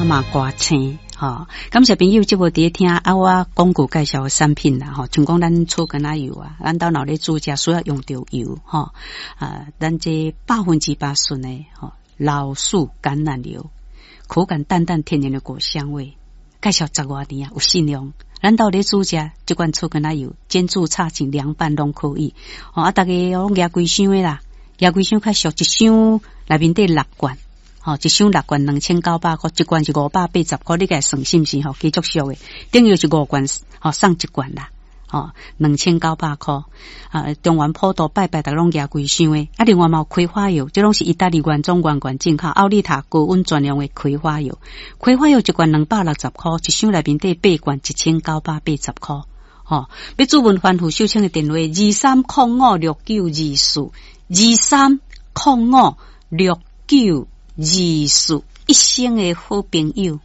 嘛寒星。吼，感謝朋友這無佇咧聽啊，我廣告介紹的產品啦，吼，像講咱草根仔油啊，咱兜若咧煮食需要用著油，吼，啊，咱這100%純的吼，老樹橄欖油，口感淡淡天然的果香味，介紹十外年啊，有信用。咱兜咧煮食，這款草根仔油，煎煮炒煎涼拌攏可以。吼，啊，逐家攏舉規箱的啦，舉規箱較俗，一箱內面底六罐。吼，一箱六罐2900箍，一罐是580箍，你共算是毋是吼？加足俗的，等於是五罐吼送一罐啦。吼，2900箍啊！中元普渡拜拜，逐家攏舉規箱的。啊，另外嘛有葵花油，這攏是意大利原裝原罐進口，奧利塔高溫專用的葵花油。葵花油一罐260箍，一箱內面底八罐1980箍。吼，欲諮詢番付秀清的電話：23056924，23056924，一生的好朋友。